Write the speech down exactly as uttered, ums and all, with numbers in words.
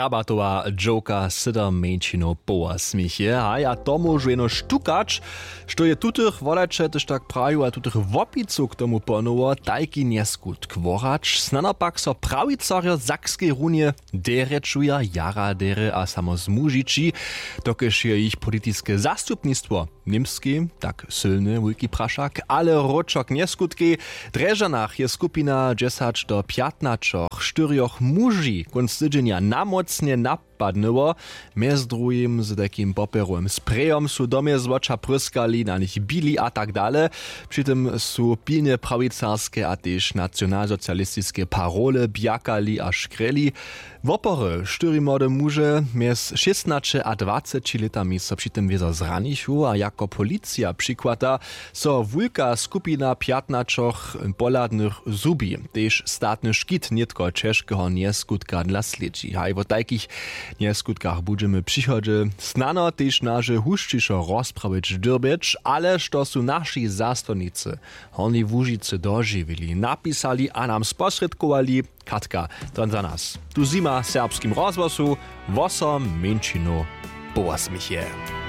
Abatowa dźowka sydom mjeńšinow połasmiche haj a to móžu jenož tukać, što je tutych wodajće tež tak praju a tutych wopicow k tomu ponowo tajki njeskutk worać snano pak so prawicarjo w sakskej runje derje čuja jara derje a samo zmužići, dokelž je jich politiske zastupnistwo w němskej tak sylne wulki prašak ale wróćo k njeskutkej. W drježdźanach je skupina dźesać do pjatnaćoch štyrjoch muži kónc tydźenja namócnje napadnyło. Mjez druhim z takim popjerowym sprejom su do mjezwoća pryskali na nich bili a tak dale. Při tym su pilnje prawicarske a tež nacionalsocialistiske parole bjakali a škrjeli. Wopory štyri młode muže mjez šěstnaće a dwaceći lětami so při tym wězo zranichu a jako policija přikłada, so wulka skupina pjatnaćoch pohladnych zhubi. Tež statny škit nětko ćežkeho njeskutka dla slědźi haj wo tajkich njeskutkach budźemy w přichodźe snano tež naše hušćišo rozprawić dyrbjeć ale što su naši zastawnicy w hornjej łužicy dožiwili napisali a nam sposrědkowali. Katka, to za nas tu zima w serbskim rozhłosu. Wosom mjeńšinow połasmiche.